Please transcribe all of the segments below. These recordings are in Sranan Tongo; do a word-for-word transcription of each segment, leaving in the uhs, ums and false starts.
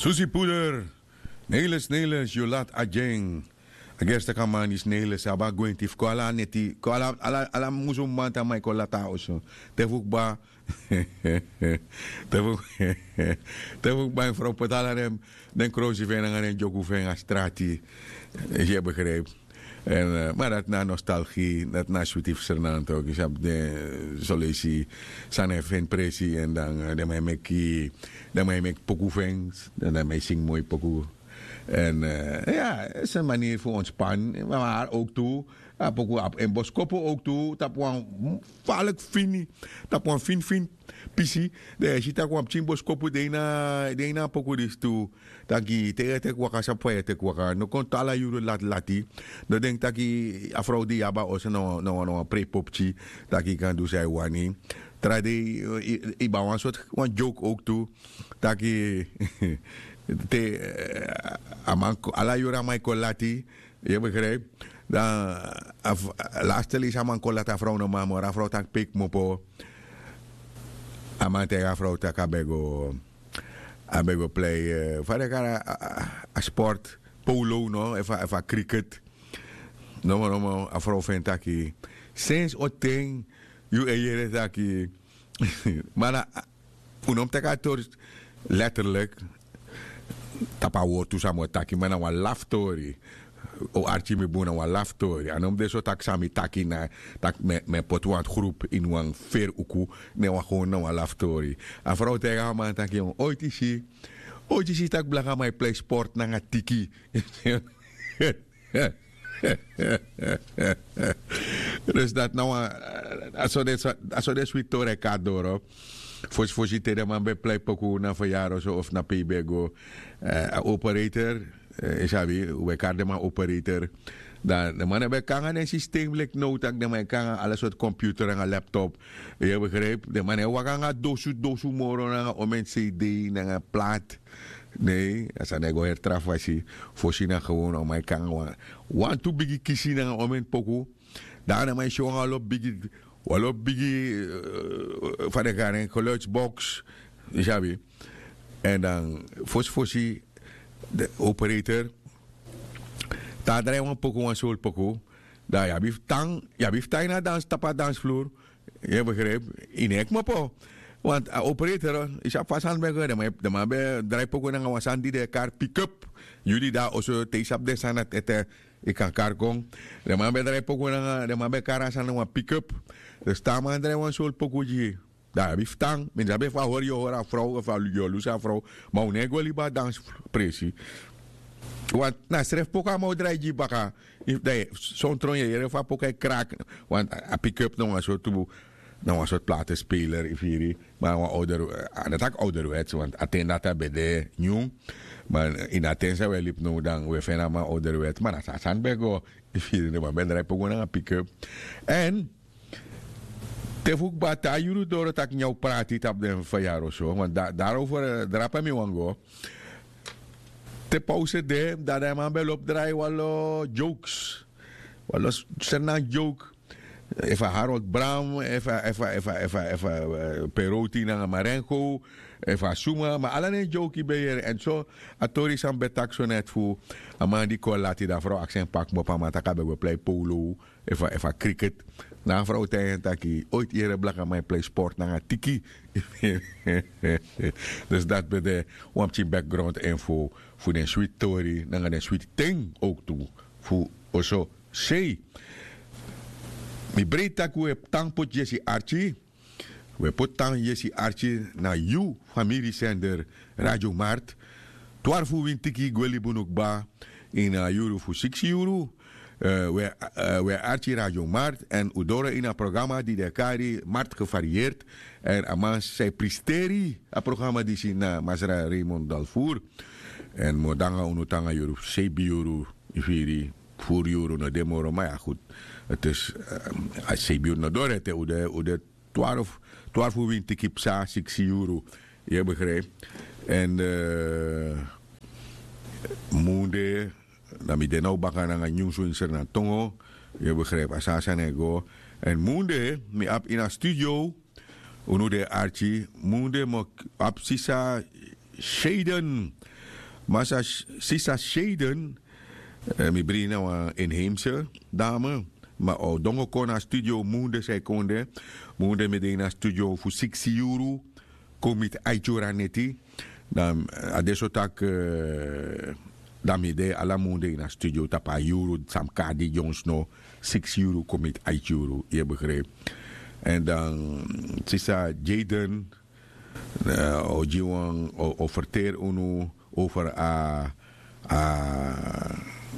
Tusi puder. Neles neles yu lat agen. A gerste kaman disi neles abi a gwenti fu kon ala neti kon ala ala musu man tan man e kon lati a oso. Te fu kba te fu te fu kba en frow poti ala den krosi fu en nanga den dyoku fu en a strati. Yu e begripi? Ma dati na a nostalgi dati na a switi fu sernanto yu sabi den soleisi sani e feni presi èn dan den man e meki den man e meki poku fu en. Dan den man e singi moi poku. Èn ya, a sani maniri fu ontspan. Mari owk tu a poku abi en boskopu owk tu tapu wan faliki fini tapu wan finifini pisi. Dan yu e si tak' wan pikin boskopu de ini a poku disi tu. Taki te yu e teki waka sabi fa yu e teki waka no kon tu ala yuru latilati. No denki taki a frow di yu abi a oso na wan prei popki taki yu kan du san yu wani. Tra dei yu ben abi wan sortu wan dyowk owk tu taki te a man ala yuru a man e kon lati. Yu e begripi? Dan laste leisi a man kon lati a frow no man moro a frow taki pe yu kmopo. A man taigi a frow taki a ben go a ben go plei fa den kari a sport polo no efu a kriket. Nomo nomo a frow fu en taki sensi o ten yu e yere taki ma na un no mus teki a tori letterlik. Tapu a wortu san mi o taki ma na wan laftori. O arki mi bun na wan laftori a no mus de so tak' san mi taki na tak' mi e poti wan grupu ini wan feri uku. Ne wan gewon na wan laftori. A frow taigi a man taki oiti si oiti si tak' blakaman e plei sport nanga tiki. Dus dati na wan a so den switi tori e kon na doro. Fosi fosi te den man ben plei poku na feryari oso of na pe yu ben e go a operator yu sabi un ben kari den man operator. Dan den man no ben kon nanga den sistem leki now tak' den man e kon nanga ala sortu komputer nanga laptop. Yu e begripi den man no e waka nanga dosu dosu moro nanga omen cd nanga plat. Nei a sani e go heri tra fasi. Fosi na gewon a man e kon nanga wan wantu bigi kisi nanga omen poku. Dan a man e si wan wan lobi bigi wan lobi bigi fa den kari en geluidsbox. Yu sabi? Èn dan fosi fosi den operator te a drai wan poku wan soli poku. Dan yu abi fu tan yu abi fu tan ini a dansi tapu a dansfluru. Yu e begripi? Yu no e kmopo. Want a operator yu sabi fa a sani ben go den man ben drai poku nanga wan sani di den e kari pikup. Yu di de na oso te yu sabi den sani dati ete yu kan kari kon. Den man ben drai poku nanga den man ben kari a sani na wan pikup. Dus te a man drai wan soli poku gi yu dan yu abi fu tan. Mi no sabi efu a hori yu o hori a frow efu yu o lusu a frow. Ma un no e go libi a dansi presi. Want na srefi poku a man o drai gi yu baka. Sontroin yu e yere fu a poku e kraki. Want a pikup na wan sortu na wan sortu platespeler yu firi. Ma na wan owder a no taki owderwets want a ten dati a ben de nyun. Ma ini a ten san un e libi now dan un e feni a man owderwets ma na so a sani ben go. Yu firi den man ben drai poku nanga pikup. Èn te fu kba te a yuru doro tak' nyan un prati tapu den feryari oso want darover drape mi wani go. Te pause de dan den man ben lobi drai wan lo jokes. Wan lo sernanti joke. Efu a harold bram efu a efu a efu a efu a efu a peroti nanga marengo. Efu a suma ma ala den joke yu ben yere èn so a tori san mi ben taki so neti fu a man di kon lati dan frow aksi en pa kmopo a man tak' a ben go plei polo. Efu a efu a kriket. Na a frow taigi en taki oiti yere blakaman e plei sport nanga tiki. Dus dati ben de wan pikin background info fu den switi tori nanga den switi ten owktu fu oso sei. Mi breiti tak' un e tan poti yesi arki. Un e poti tan yesi arki na yu famiri sender radio mart. Twarfu wintiki gwe libi unu kba ini a yuru fu siksi yuru. Un e arki radio mart èn un doro ini a programa di den e kari mart gevarieerd. Èn a man san e pristeri a programa disi na masra raymond dalfur. Èn mi o de nanga unu tan nanga yuru fu seibi yuru. Yu firi? Furu yuru no de moro ma ya gudu. Eti a seibi yuru no doro ete un de un de twarfu twarfu winti kipsa siksi yuru. Yu e begripi? Èn munde na mi de na un baka nanga nyunsu ini sernantongo. Yu e begripi a so a sani e go. Èn munde mi abi ini a studio. Unu den e arki. Munde mi o abi sisa seiden. Masa sisa sheden. Mi brin na wan inheimse dame. Ma o dongo kon na studio munde san e kon de. Munde mi de ini a studio fu siksi yuru kon miti aiti yuru a neti. Dan a de so tak' dan mi de ala munde ini a studio tapu a yuru san mi kari di dyonsno. Siksi yuru kon miti aiti yuru yu e begripi. Èn dan sisa jaden o gi wan o ferteri unu over a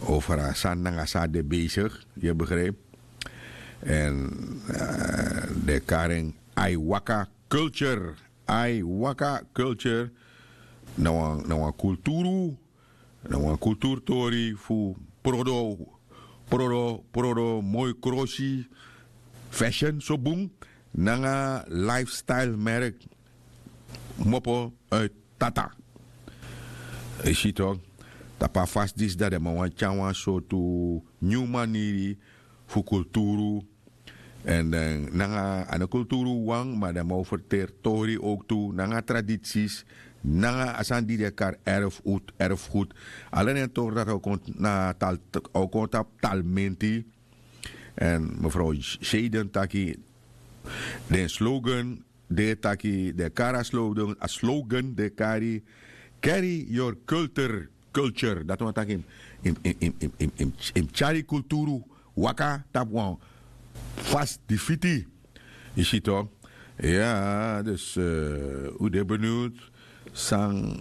over a sani nanga san a de besigi. Yu e begripi. Èn den e kari en aiwaka culture. Aiwaka culture na wan na wan kulturu na wan kulturtori fu prodo prodo prodo moi krosi fashion so bun nanga lifestyle merk kmopo uit tata. Yu si tok'? Tapu a fasi disi dati den man wani tyari wan sortu nyun maniri fu kulturu. Èn den nanga a no kulturu wawan ma den man o ferteri tori owktu nanga traditsis nanga a sani di den e kari erfgud erfgud. Ala den tori dati a o kon na a o kon tapu talmenti. Èn mefrow sheden taki den slogan di e taki den e kari a slogan a slogan di e kari carry your culture culture dati wani taki yu mus tyari kulturu waka tapu wan fasi di fiti. Yu si to? Ya dus un de beniwd san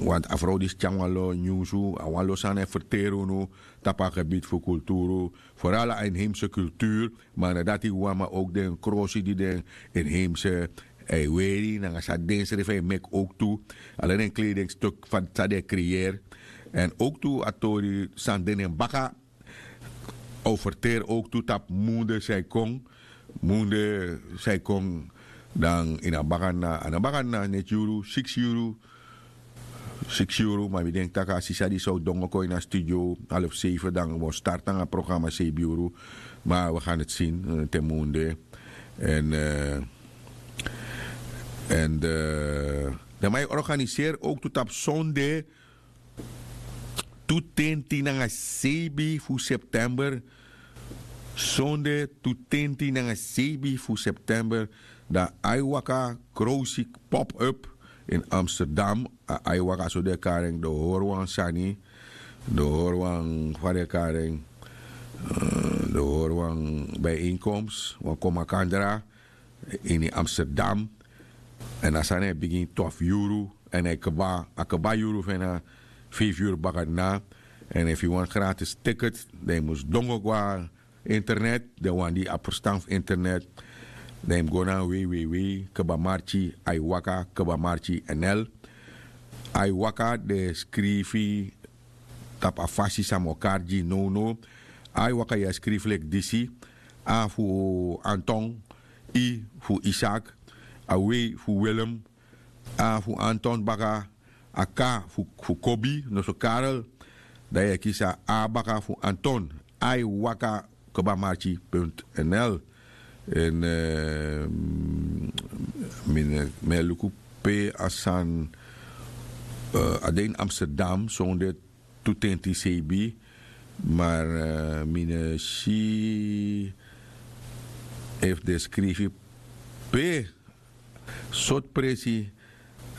want a frow disi tyari wan lo nyunsu a wan lo sani e ferteri unu tapu a gebiti fu kulturu. Foral a inheimse kulturu. Ma na dati wawan ma owk den krosi di den inheimse e weri nanga san densrefi e meki owktu. Ala den kleding stuk fa san den e kreyeri. Èn owktu a tori san de na en baka a o ferteri owktu tapu munde san e kon. Munde san e kon dan ini a baka na a no baka na neti yuru siksi yuru. Siksi yuru ma mi denki tak' a sisa disi o dongo kon ini a studio halfu seife dan wi o starti nanga a programa seibi yuru. Ma wi gan neti sini te munde. Èn èn den man e organiseri owktu tapu sonde tu tenti nanga seibi fu september. Sonde tu tenti nanga seibi fu september dan aiwaka krowsik pop-up in amsterdam. A aiwaka so den e kari en den o hori wan sani den o hori wan fa den e kari en den o hori wan bijeenkomst wan kon makandra ini amsterdam. Èn a sani e bigin twafu yuru èn a e kba a kba yuru fu en na feifi yuru bakadina. Èn efu yu wani gratis tiket dan yu mus dongo go na internet den wan di abi ferstan fu internet dan yu mus go na www kba marki aiwaka kba marki nl. Aiwaka den e skrifi tapu a fasi san mi o kari gi yu nownow. Aiwaka yu e skrifi leki disi. A fu anton, i fu isak, a wei fu willem, a fu anton baka, a k fu kobi noso karel. Dan yu e kisi a a baka fu anton. Ai waka kba marki punt nl. Èn mi e luku pe a sani a de ini amsterdam sonde tu tenti seibi. Mar mi no si efu den skrifi pe sortu presi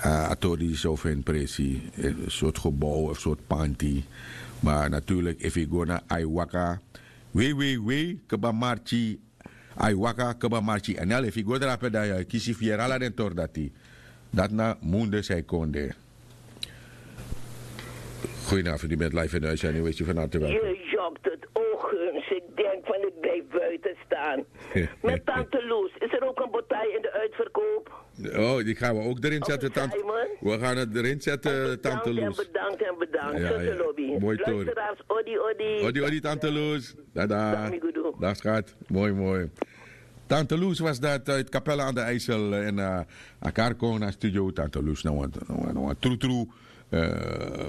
a tori disi o feni presi, sortu gebow efu sortu panti. Ma naturlik efu yu go na ai waka wei wei wei kba marki ai waka kba marki nl efu yu go drape dan yu e kisi fu yere ala den tori dati. Dati na munde san e kon de. Goedenavond u bent live in de uitzending wees u van harte welkom. Je jokt het oog eens ik denk van ik blijf buiten staan. Met tante loes is er ook een botaai in de uitverkoop? Oh die gaan we ook erin zetten tante. We gaan het erin zetten tante loes. Bedankt en bedankt tante lobby. Mooi tori. Odi odi. Odi odi tante loes. Dada. Dag schat. Mooi mooi. Tante loes was dat uit kapelle aan de ijsel en a kari kon na studio tante loes na wan trutru.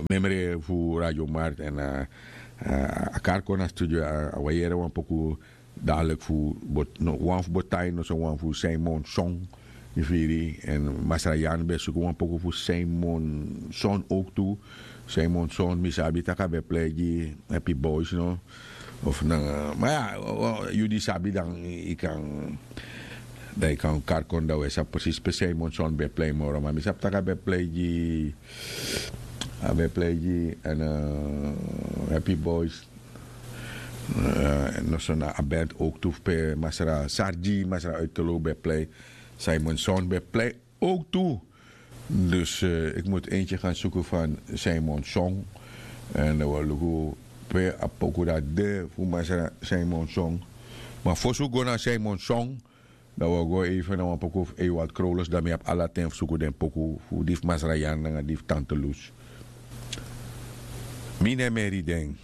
Memre fu radio mart en a kari kon na studio a wayere wan poku. Dalik fu wan fu botain no so wan fu simon song. Yu firi en masra yan ben suku wan poku fu simon son owk tu. Simon son mi sabi tak' a ben plei gi happy boys no? Of nanga ma ya, yu di sabi dan yu kan dan yu kan kari kon dan wi e sabi presis pe simon son ben plei moro ma mi sabi tak' a ben plei gi a ben plei gi en happy boys. Noso na a band owk tu fu pe masra sargi masra uitkelo ben plei. Simon son ben plei owk tu. Dus eki mus enkye kan suku fan simon son. Èn dan wi o luku pe a poku dati de fu masra simon son. Ma fosi wi go na simon son dan wi o go eifen na wan poku fu eiwald krowlus dan mi abi ala ten fu suku den poku fu di fu masra yan nanga di fu tante lus. Mi ne meri den.